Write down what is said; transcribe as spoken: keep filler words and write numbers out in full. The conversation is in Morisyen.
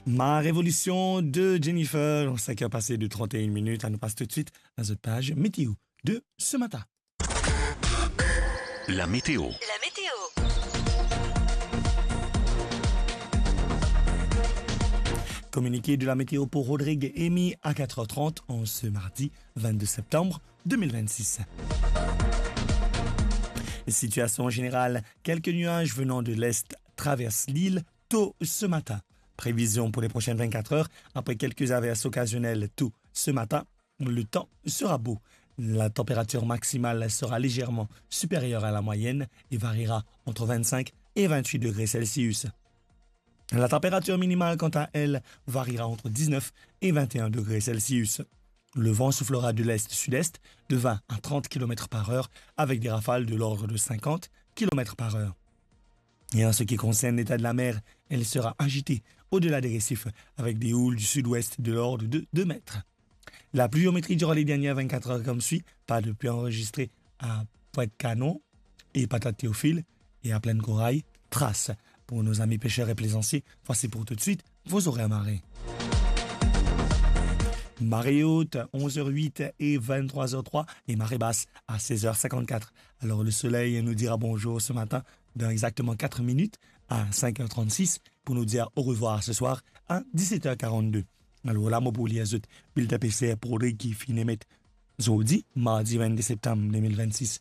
Ma Révolution de Jennifer, cinq heures passées de trente et une minutes. Anou pas tout de suite à notre page météo de ce matin. La météo. La météo. Communiqué de la météo pour Rodrigue Emy à quatre heures trente en ce mardi vingt-deux septembre deux mille vingt-six. Situation générale, quelques nuages venant de l'est traversent l'île tôt ce matin. Prévision pour les prochaines vingt-quatre heures, après quelques averses occasionnelles tôt ce matin, le temps sera beau. La température maximale sera légèrement supérieure à la moyenne et variera entre vingt-cinq et vingt-huit degrés Celsius. La température minimale, quant à elle, variera entre dix-neuf et vingt et un degrés Celsius. Le vent soufflera de l'est-sud-est de vingt à trente kilomètres par heure avec des rafales de l'ordre de cinquante kilomètres par heure. Et en ce qui concerne l'état de la mer, elle sera agitée au-delà des récifs avec des houles du sud-ouest de l'ordre de deux mètres. La pluviométrie durant les dernières vingt-quatre heures comme suit, pas de pluie enregistrée à Pointe-Canon et Patate Théophile et à Plaine Corail, Thrace. Pour nos amis pêcheurs et plaisanciers, voici pour tout de suite vos horaires marée. Marée haute, onze heures huit et vingt-trois heures trois, et marée basse à seize heures cinquante-quatre. Alors le soleil nous dira bonjour ce matin dans exactement quatre minutes à cinq heures trente-six pour nous dire au revoir ce soir à dix-sept heures quarante-deux. Alor la, mo pou lir zot bilten PCR pou Rodrigue ki finn emet zordi, mardi vingt-deux septanm deux mille vingt-six,